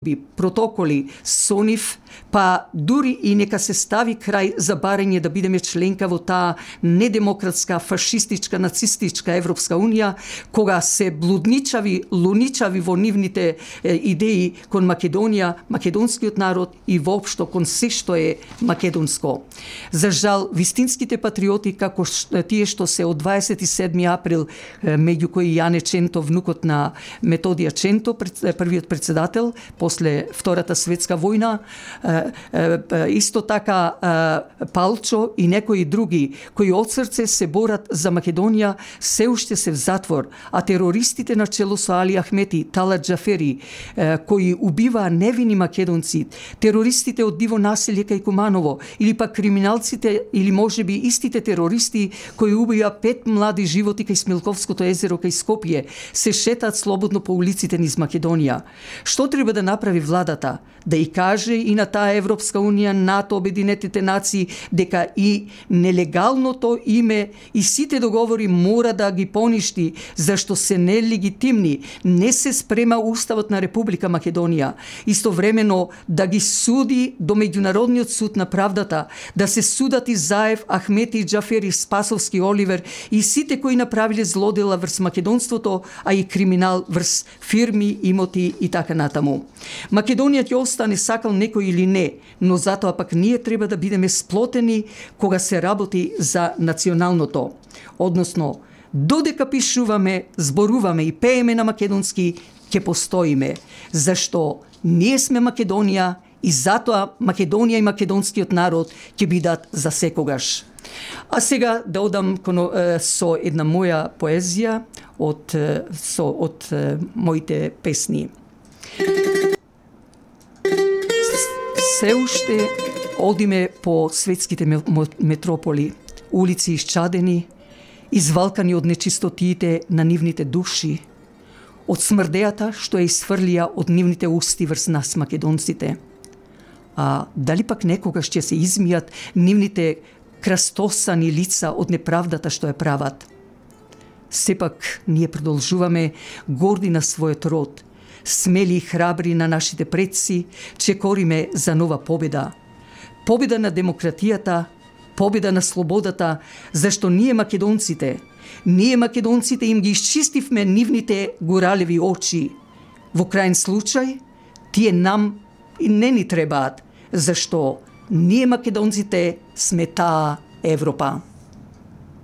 протоколи со нив, па дури и нека се стави крај за барање да бидеме членка во таа недемократска, фашистичка, нацистичка Европска унија, кога се блудничави, луничави во нивните идеи кон Македонија, македонскиот народ и воопшто кон се што е македонско. За жал, вистинските патриоти, како тие што се од 27 април, меѓу кои Јане Ченто, внукот на Методија Ченто, првиот председател, после Втората светска војна, исто така Палчо и некои други, кои од срце се борат за Македонија, се уште се в затвор, а терористите на чело со Али Ахмети, Талат Джафери, кои убиваа невини македонци, терористите од Диво населје кај Куманово, или пак криминалците, или можеби истите терористи кои убија 5 млади животи кај Смилковското езеро кај Скопје, се шетаат слободно по улиците низ Македонија. Што треба да направи владата? Да и каже и на таа Европска унија, НАТО, Обединетите нации, дека и нелегалното име и сите договори мора да ги поништи, зашто се нелегитимни. Не се спрема Уставот на Република Македонија. Истовремено да ги суди до Меѓународниот суд на правдата, да се судат и Заев, Ахмети, Джафери, Спасовски, Оливер и сите кои направиле злодела врз македонството, а и криминал врз фирми, имоти и така натаму. Македонија ќе остане, сакал некој или не, но затоа пак ние треба да бидеме сплотени кога се работи за националното. Односно, додека пишуваме, зборуваме и пееме на македонски, ќе постоиме, зашто ние сме Македонија и затоа Македонија и македонскиот народ ќе бидат за секогаш. А сега да одам со една моја поезија од моите песни. Се уште одиме по светските метрополи, улици исчадени, извалкани од нечистотиите на нивните души, од смрдејата што ја изфрлија од нивните усти врз нас македонците. А дали пак некогаш ќе се измијат нивните крастосани лица од неправдата што ја прават? Сепак ние продолжуваме горди на својот род, смели и храбри на нашите предци, чекориме за нова победа. Победа на демократијата, победа на слободата, зашто ние македонците им ги исчистивме нивните горалеви очи. Во крајен случај, тие нам и не ни требаат, зашто ние македонците сме таа Европа.